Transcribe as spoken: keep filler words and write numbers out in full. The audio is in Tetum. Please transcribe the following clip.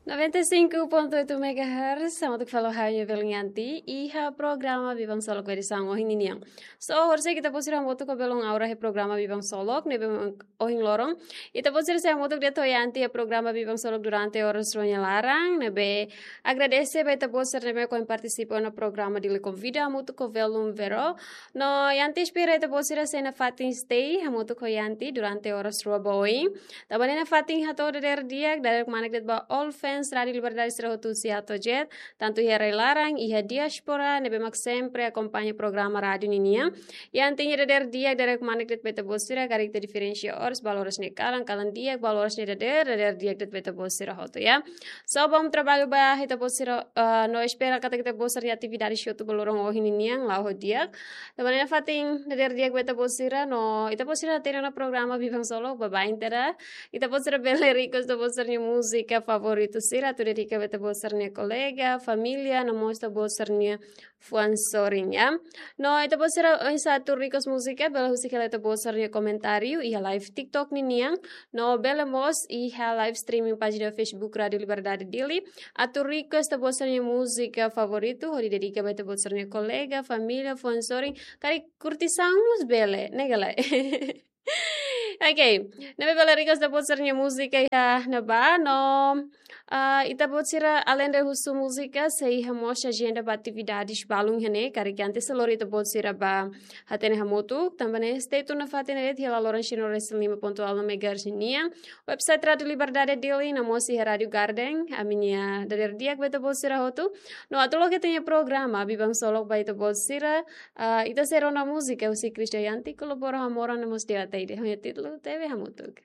Noventa e cinco ponto oito megahertz, hamutuk fali ho ha'u-nia belun Yanti, iha programa Biban Solok edisaun ohin ninian. So, orsida ita-boot sira hamutuk ho belun aura iha programa Biban Solok, ne'ebé ohin loron ita-boot sira sei hamutuk de'it ho Yanti iha programa Biban Solok durante oras rua nia laran, ne'ebé agradese ba ita-boot sira ne'ebé ohin partisipa ona programa Dili Konvida hamutuk ho belun Vero. No Yanti espera ita-boot sira sei nafatin stay hamutuk ho Yanti durante oras rua ba oin. Tanba ne'e nafatin hato'o dadeer di'ak, dadeer kmanek de'it ba all fans Rádio Liberdade sira hotu husi A to'o Z, tantu iha rai-laran, iha diáspora, ne'ebé mak sempre akompaña programa rádiu ninian. Yanti nia dadeer di'ak, dadeer kmanek de'it ba ita-boot sira, karik ita diferensia oras, balu oras nia kalan, kalan di'ak, balu oras nia dadeer, dadeer di'ak de'it ba ita-boot sira hotu, ya. So, bom trabalho ba ita-boot sira, ah, no espera katak ita-boot sira-nia atividade hotu ba loron ohin ninian la'o ho di'ak. Tanba ne'e nafatin dadeer di'ak ba ita-boot sira, no ita-boot sira hatene ona programa Biban Solok, baibain tiha. Ita-boot sira bele request ita-boot sira-nia múzika favoritu sira, atu dedika ba ita-boot sira-nia kolega, família, no mós ita-boot sira-nia fuan sorin, ya. No ita-boot sira oinsá atu request múzika, bele husik hela ita-boot sira-nia komentáriu iha live TikTok ninian, no bele mós iha live streaming pájina Facebook Rádio Liberdade Dili, atu request ita-boot sira-nia múzika favoritu, hodi dedika ba ita-boot sira-nia kolega, família, fuan sorin, karik kurtisaun mós bele, ne'e ka lae? Ok, ne'ebé bele request ita-boot sira-nia múzika iha ne'ebá, no, ah, ita-boot sira alende husu múzika, sei iha mós ajenda ba atividades balun iha ne'e, karik Yanti sei lori ita-boot sira ba hatene hamutuk, tanba ne'e stay tune nafatin de'it hela loron cento e cinco ponto nol megahertz nian, website Rádio Liberdade Dili, no mós iha Rádio Garden, ami-nia dadeer di'ak ba ita-boot sira hotu, no atu loke ita-nia programa Biban Solok ba ita-boot sira, ah, ita sei rona múzika husi Krisdayanti, Kolabora ho Amor, no mós Dewa Ataide, ho nia títulu Tebe Hamutuk.